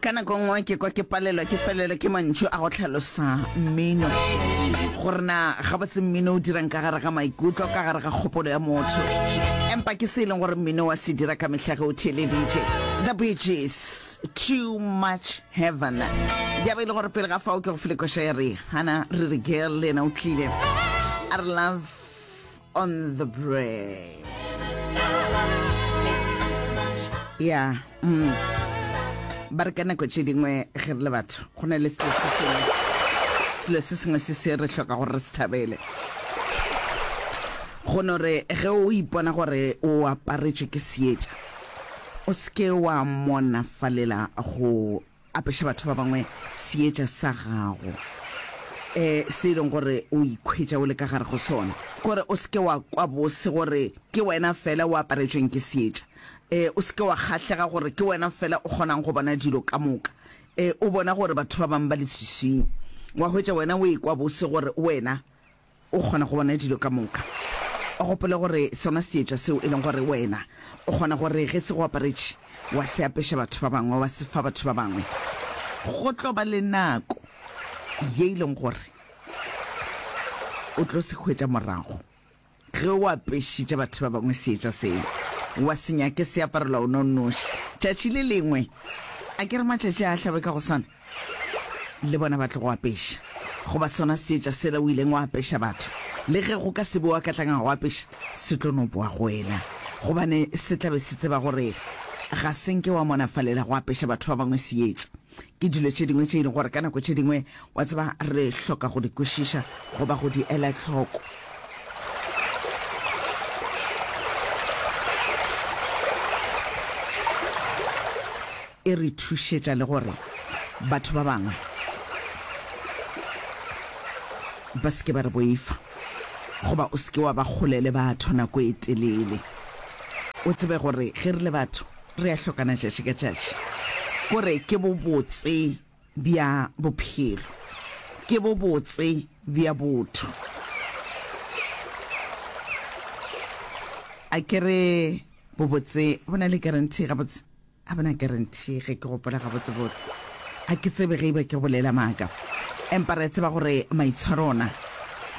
Ka nako nngwe ke kwa ke palelwa ke felelwa ke mantšu a go hlalosa mmino, gore na gabotse mmino o dirang ka gare ga maikutlo, ka gare ga kgopolo ya motho. Empa ke se e leng gore mmino wa se dira ka mehla ge o theeleditše. The Bee Gees, Too Much Heaven. Ya be e le gore pele ga fao ke go file koša ya Rihanna, Riri Girl le yena o tlile a re Love on the Brain. Ya, mm. Ba re ka nako tše dingwe ge re le batho go na le selo se sengwe, selo se sengwe se se re hloka gore re se thabele. Go no re ge o ipona gore o aparetšwe ke seetša, o se ke wa monafalela go Apeša batho ba bangwe seetša sa gago, e, se e leng gore o ikhwetša o le ka gare go sona. Kore o se ke wa kwa bose gore ke wena fela o aparetšweng ke seetša. E, o se ke wa kgahlega gore ke wena fela o kgonang go bona dilo ka moka. E, o bona gore batho ba bangwe ba leswiswing. Wa hwetša wena o ekwa bose gore wena O kgona go bona dilo ka moka. O gopole gore sona seetša seo e leng gore wena o kgona gore ge se go aparetše wa se apeša batho ba bangwe, wa se fa batho ba bangwe, go tlo ba le nako ye e leng gore o tlo se hwetša morago. Ge o apešitše batho ba bangwe seetša seo, wa se nyake se aparelwa o no nnoši. Tšatši le lengwe, a ke re matšatši a a hlabe ka go swana, le bona ba tlo go apeša. Goba sona seetša sela o ileng wa apeša batho, le ge go ka se be wa ka tlanga go apeša, se tlo no boa go wena. Gobane se tla be se tseba gore ga se nke wa monafalela go apeša batho ba bangwe seetša. Ke dilo tše dingwe tše e leng gore ka nako tše dingwe, wa tseba, re hloka go di kwešiša goba go di ela hloko. E re thušetša le gore batho ba bangwe ba se ke ba re boifa, goba o se ke wa ba kgole le batho nako e telele. O tsebe gore ge re le batho re a hlokana tšatši ka tšatši. Kore ke bobotse bja bophelo, ke bobotse bja botho. A ke re bobotse bo na le guarantee gabotse? A bo na guarantee ge ke gopola gabotsebotse. A ke tsebe ge e ba ke bolela maaka. Empa re a tseba gore maitshwaro ona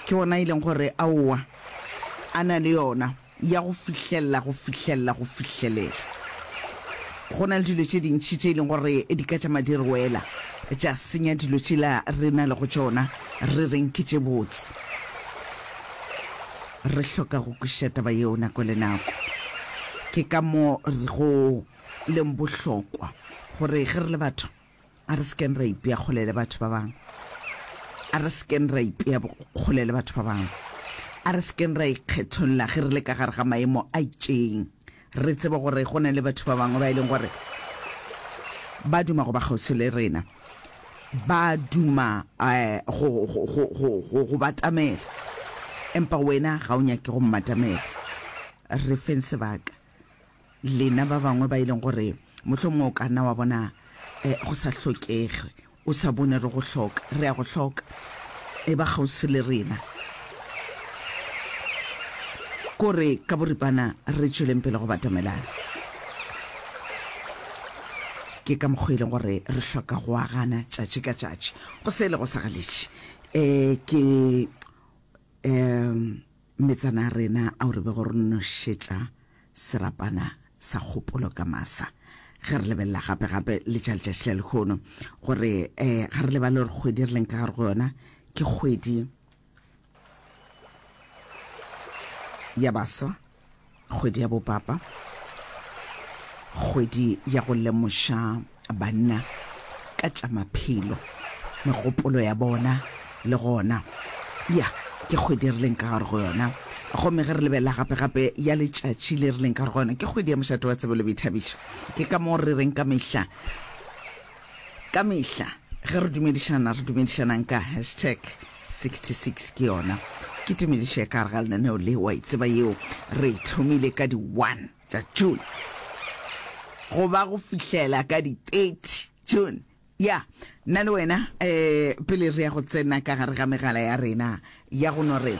ke ona e leng gore aowa a na le yona. ya go fihlelela, go fihlelela, go fihlelela. Go na le dilo tše dintši tše e leng gore di ka tšama di re wela, tša senya dilo tšela re na lego tšona, re reng ke tše botse. Re hloka go kwešiša taba yeo nako le nako. Ke ka mo go leng bohlokwa gore ge re le batho, A re se keng ra ipea kgole le batho ba bangwe. A re se keng ra ipea kgole le batho ba bangwe. A re se keng ra ikgetholla ge re le ka gare ga maemo a itšeng. Re tsebe gore go na le batho ba bangwe ba e leng gore ba duma go ba kgauswi le rena, ba duma eh, go, go, go, go, go, go batamela, empa wena ga o nyake go mmatamela. Re feng sebaka. Lena ba bangwe ba e leng gore mohlomongwe o ka nna wa bona eh, go sa hlokege, o sa bone re go hloka, re a go hloka. E ba kgauswi le rena. Kore ka boripana re tšweleng pele go batamelana. Ke ka mokgwa e leng gore re hloka go agana tšatši ka tšatši. Go se le go sa galetše. Eh, ke um metsana a rena ao re bego re nošetša serapana sa kgopolo ka masa. Ge re lebelela gape-gape le tša letšatši la lehono, gore um ga re lebale gore kgwedi re leng ka gare go yona ke kgwedi ya baswa, Kgwedi ya Bopapa, kgwedi ya go lemoša banna ka tša maphelo, megopolo ya bona le gona. Ya, ke kgwedi re leng ka gare go yona. Gomme ge re lebelela gape-gape ya letšatši le re leng ka gare go yona, ke kgwedi ya mošate wa tsebo le boithabišo. Ke ka moo re reng ka mehla, Ka mehla ge re dumedišana, re dumedišanang ka hashtag 66 ke yona. Ke tumedišo ya ka gare ga lenaneo le, wa e tseba yeo. Re e thomile ka di 1 tša June go ba go fihlela ka di 30 June. Ya, nna le wena eh, pele re ya go tsena ka gare ga megala ya rena ya go no re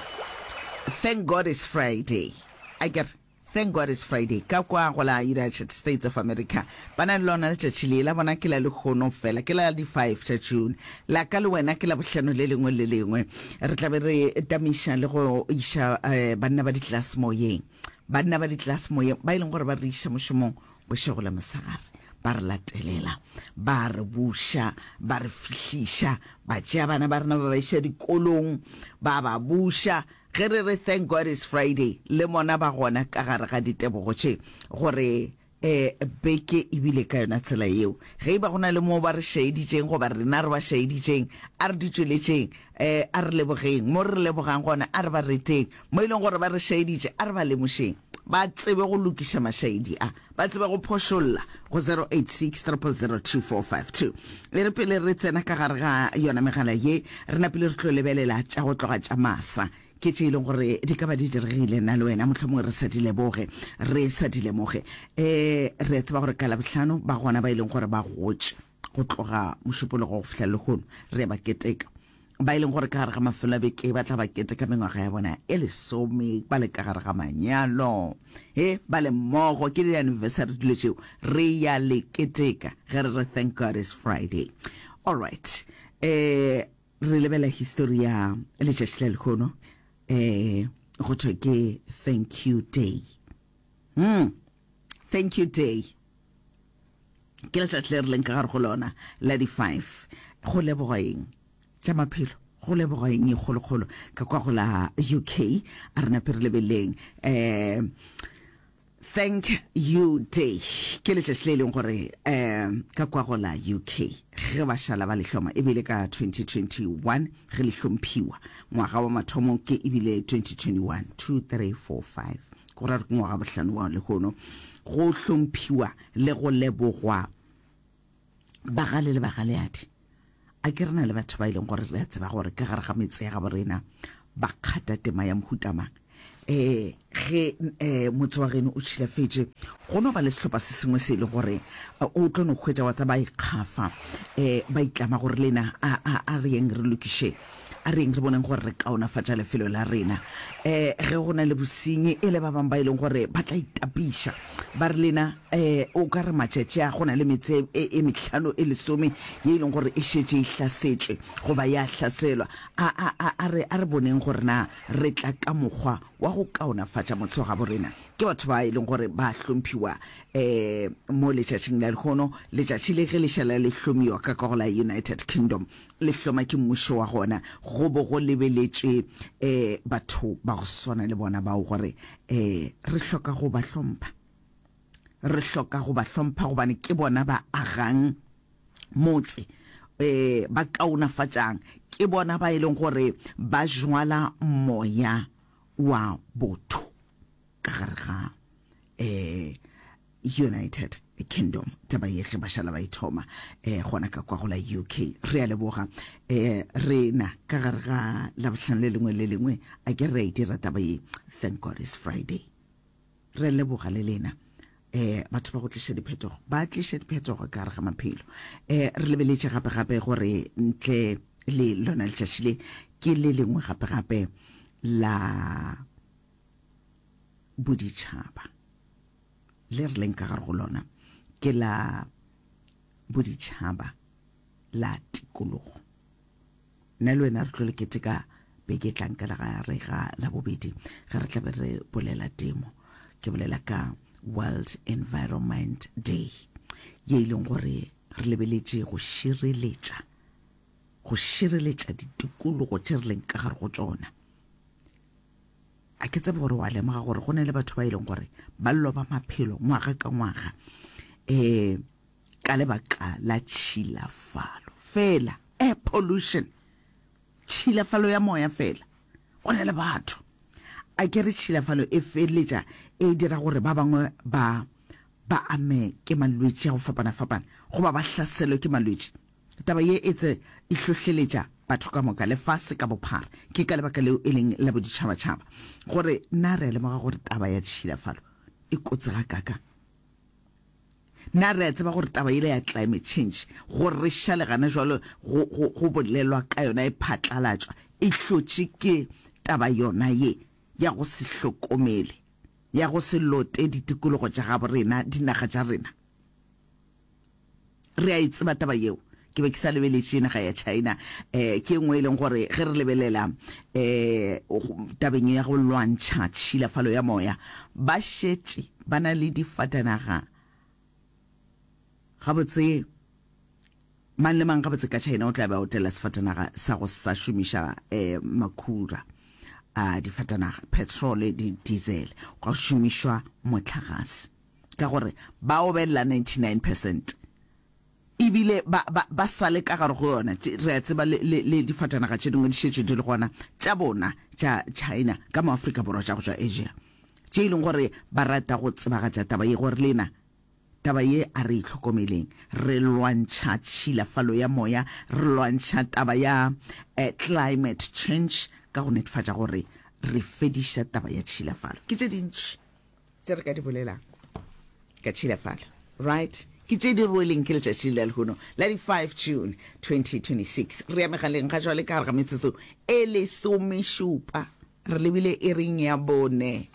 Thank God it's Friday. Akere? Thank God it's Friday. Ka kwa go la United States of America ba na le lona letšatši le, la bona ke la lehono fela, ke la di 5 tša June. La ka le wena ke la bohlano le lengwe le lengwe. Re tla be re tamiša le go iša eh, banna ba ditlelase moyeng. Banna ba ditlelase moyeng ba e leng gore ba re iša mošomong bošego le mosegare, ba re latelela, ba re buša, ba re fihliša, ba tšea bana ba rena ba ba iša dikolong, ba ba buša. Ge re re Thank God it's Friday, le bona ba gona ka gare ga ditebogo tše, gore e beke e bile ka yona tsela yeo. Ge e ba go na le moo ba re šaeditšeng goba rena re ba šaeditšeng, a re di tšweletšeng, e a re lebogeng. Mo re lebogang gona, a re ba reteng. Mo e leng gore ba re šaeditše, a re ba lemošeng. Ba tsebe go lokiša mašaedi a, ba tsebe go phošolla go 086 000 2452. E re pele re tsena ka gare ga yona megala ye, re napile re tlo lebelela tša go tloga tša masa. Ke tše e leng gore di ka ba di diregile nna le wena mohlomongwe re sa di leboge, re sa di lemoge. Um re a tseba gore ka Labohlano ba gona ba e leng gore ba gotše go tloga Mošupologo go fihla lehono, re a ba keteka. Ba e leng gore ka gare ga mafelo a beke ba tla ba keteka mengwaga ya bona e lesome ba le ka gare ga manyalo, he ba le mmogo, ke di-anniversary dilo tšeo, re ya le keteka ge re re thank God it's Friday. All right, eh re lebela histori ya letšatši la lehono, eh go thwe ke thank you day. Hmm, thank you day ke letšatši le re leng ka gare go lona la di-five. Go leboga eng? Tša maphelo. Go leboga eng e kgolokgolo ka kwa go la UK? A re nape re lebeleng um Thank you day ke letšatši le e leng gore um ka kwa go la UK ge ba šala ba le hloma ebile ka 2021 ge le hlomphiwa ngwaga wa mathomo ke ebile 2021 2 3 4 5 go ra ke ngwaga bohlano wa lehono go hlomphiwa le go lebogwa bagale le bagaleadi. A ke re na le batho ba e leng gore re a tseba gore ka gare ga metse ya gabo rena ba kgata tema ya mohuta mang. Um ge um motse wa geno o tšhilafetše, go no ba le sehlopha se sengwe se e leng gore o tlo no hwetša wa tsa ba ikgafa, um ba itlama gore lena a, a, a re yeng re lokiše, a re yeng re boneng gore re kaonafatša lefelo la rena. Um ge go na le bosenyi, e le ba bangwe ba e leng gore ba tla itapiša, ba re lena um o ka re matšatši a go na le metse e, e mehlano e lesome ye e leng gore e šetše e hlasetšwe goba ya hlaselwa. A, a, a, a re, a re boneng gore na Re tla ka mokgwa wa go kaonafatša motse wa gabo rena. Ke batho ba e leng gore ba hlomphiwa um mo letšatšing la lehono. Letšatši le ge le šala le hlomiwa ka ka go la United Kingdom, le hloma ke mmušo wa gona, go bo go lebeletšwe um batho ba go swana le bona bao gore um re hloka go ba hlompha. Re hloka go ba hlompha gobane ke bona ba agang motse um ba kaonafatšang, ke bona ba e leng gore ba jwala moya wa botho ka gare ga um United Kingdom. Taba ye ge ba šala ba e thoma um gona ka kwa go la UK. Re a leboga um rena ka gare ga Labohlano le lengwe le lengwe, a ke re a e dira taba ye. Thank God it's Friday. Re leboga le lena eh batho ba go tliša diphetogo, ba tliša diphetogo ka gare ga maphelo. Eh re lebeletše gape gape gore ntle le lona letšatši le ke le lengwe gape gape la boditšhaba le re leng ka gare go lona, ke la boditšhaba la tikologo. Nna le wena re tlo le keteka beke e tlang ka legare ga Labobedi ge re tla be re bolela temo. Ke bolela ka World Environment Day ye e leng gore re lebeletše go šireletša go šireletša ditikologo tše re leng ka gare go tšona. A ke tsebe gore wa lemoga gore go na le batho ba e leng gore ba loba maphelo ngwaga ka ngwaga um ka lebaka la tšhilafalo fela. Air pollution, tšhilafalo ya moya fela. Go na le batho, a ke re tšhilafalo e feleletša e dira gore ba bangwe ba ba ame ke malwetši a go fapana-fapana goba ba hlaselwe ke malwetši. Taba ye e tse e hlohleletša batho ka moka lefase ka bophara. Ke ka lebaka leo e leng la boditšhabatšhaba gore na re a lemoga gore taba ya tšhilafalo e kotsi gakaakang. Na re a tseba gore taba yela ya climate change, gore re šale gana jwalo go, go, go bolelwa ka yona e phatlalatšwa, e hlotše ke taba yona ye ya go se hlokomele? ya go se lote ditikologo tša gabo rena, dinaga tša rena. Re a e tseba taba yeo. Ke be ke sa lebeletše naga ya China. Um ke e nngwe e leng gore ge re lebelela um tabeng ya go lwantšha tšhilafalo ya moya, ba šetše ba na le difatanaga gabotse. Mang le mang gabotse ka China o tla be a otlela sefatanaga sa go sa šomiša um makhura a difatanaga, petrole le diesel, gwa šomišwa mohlagase. Ka gore ba obelela 99 percent ebile ba, ba, ba sa le ka gare go yona. Re a tseba le, le, le difatanaga tše dingwe di šetše di le gona tša bona tša China ka mo Afrika Borwa tša go tšwa Asia, tše e leng gore ba rata go tsebagatša taba ye gore lena Taba ye a re e hlokomeleng. Re lwantšha tšhilafalo ya moya, re lwantšha taba ya climate change ka go netefatša gore re fediša taba ya tšhilafalo. Ke tše dintši tše re ka di bolelang ka tšhilafalo, right? Ke tše di rweleng ke letšatši la lehono la di 5 June 2026. Re ya megaleng ga jwale ka gare ga metsotso e lesomešupa. Re lebile iring ya bone.